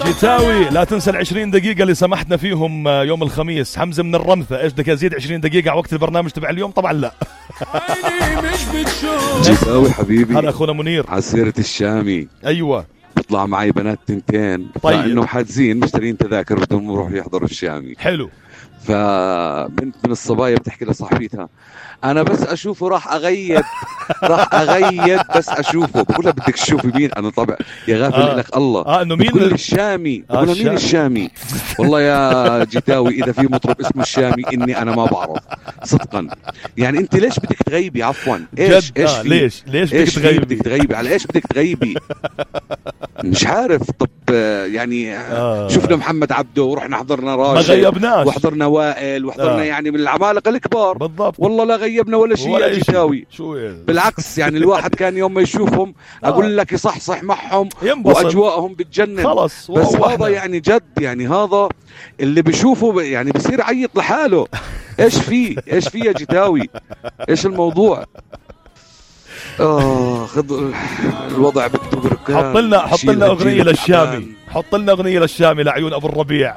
جيتاوي لا تنسى ال20 دقيقة اللي سمحنا فيهم يوم الخميس. حمزة من الرمثة، ايش بدك ازيد 20 دقيقة على وقت البرنامج تبع اليوم؟ طبعا لا. جيتاوي حبيبي، هلا اخونا منير. عسيرة الشامي، ايوه بيطلع معي بنات تنتين، طيب. فانه حاجزين مشترين تذاكر بدهم يروحوا يحضروا الشامي. حلو. فبنت من الصبايا بتحكي لصاحبتها انا بس اشوفه راح اغيب راح اغيب بس اشوفه. بقولها بدك تشوفي مين؟ انا طبعا يا غافل لك الله انه مين؟ بقول الشامي. بقولها مين الشامي؟ والله يا جيتاوي اذا في مطرب اسمه الشامي اني انا ما بعرف صدقا. يعني انت ليش بدك تغيبي؟ عفوا ايش ليش بدك تغيبي؟ بدك تغيبي على ايش بدك تغيبي؟ مش عارف. طب يعني شفنا محمد عبده ورحنا حضرنا راشد، ما غيبناش، وحضرنا وائل، وحضرنا يعني من العمالقه الكبار بالضبط. والله لا غيبنا ولا شيء يا جيتاوي. بالعكس يعني الواحد كان يوم ما يشوفهم اقول لك يصحصح معهم واجواءهم بتجنن خلص. بس هذا يعني جد، يعني هذا اللي بيشوفه يعني بصير عيط لحاله. ايش في يا جيتاوي؟ ايش الموضوع؟ خذ الوضع بده بركان. حط لنا اغنيه للشامي، حط لنا اغنيه للشامي لعيون ابو الربيع.